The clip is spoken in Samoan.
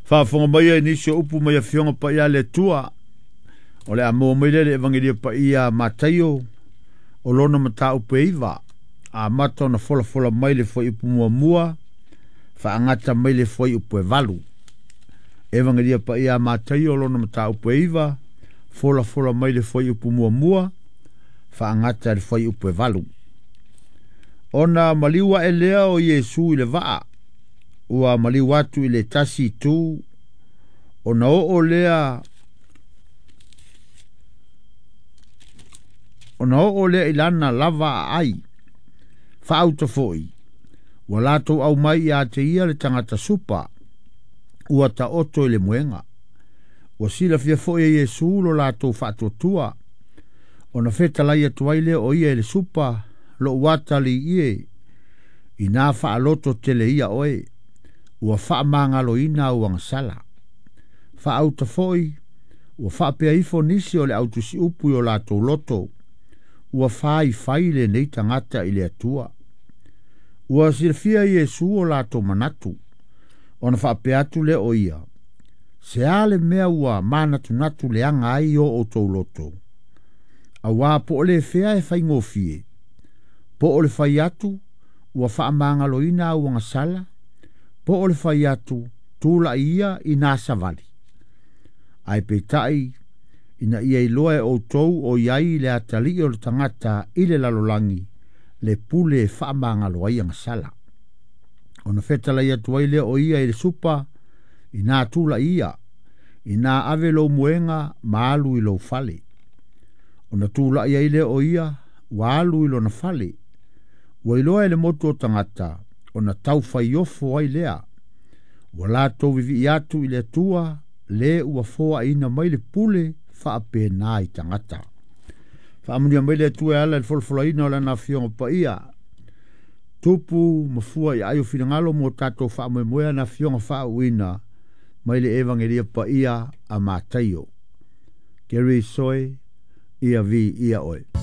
Faafofoga mai ai nisi o upu mai Afioga Paia a le Atua. O le a maua mai lea i le Evagelia Paia a Mataio o lona mataupu e 9, amata ona folafola mai le fuaiupu muamua, faagata mai le fuaiupu e 8. Evagelia Paia a Mataio o lona mataupu e 9, folafola mai le fuaiupu muamua, faagata le fuaiupu e 8. Ona maliu ae lea o Iesu i le vaa, ua maliu atu i le tasi itu, ona oo lea i lana lava aai, faauta foi, ua latou aumai ia te ia le tagata supa, ua taoto i le moega. Ua silafia foi e Iesu lo latou faatuatua, ona fetalai atu ai lea o ia i le supa, lou atalii e, ina faaloto tele ia oe, ua faamagaloina au agasala. Faauta foi, ua faapea ifo nisi o le autusiupu i o latou loto, ua faifai lenei tagata i le Atua. Ua silafia Iesu o latou manatu, ona faapea atu lea o ia, se a le mea ua manatunatu leaga ai o outou loto, auā po o le fea e faigofie, po o le fai atu, ua faamagaloina au agasala, po o le fai atu, tula'i ia i nā savali. Ae peitai, ina ia iloa e outou o iai le atalii o le tagata i le lalolagi, le pule e faamagalo ai agasala. Ona fetalai atu ai lea o ia i le supa, ina tula'i ia, ina ave lou moega ma alu i lou fale. Ona tula'i ai lea o ia, ua alu i lona fale. Ua iloa e le motu o tagata, ona taufaiofo ai lea. Ua latou vivii atu i le Atua, le ua foaina mai le pule faapena i tagata. Faamanuia mai le Atua e ala i le folafolaina o lana Afioga Paia. Tupu mafua i ai o finagalo mo tatou faamoemoe na Afioga faauuina mai le Evagelia Paia a Mataio. Gary Soe, ia vi ia oe.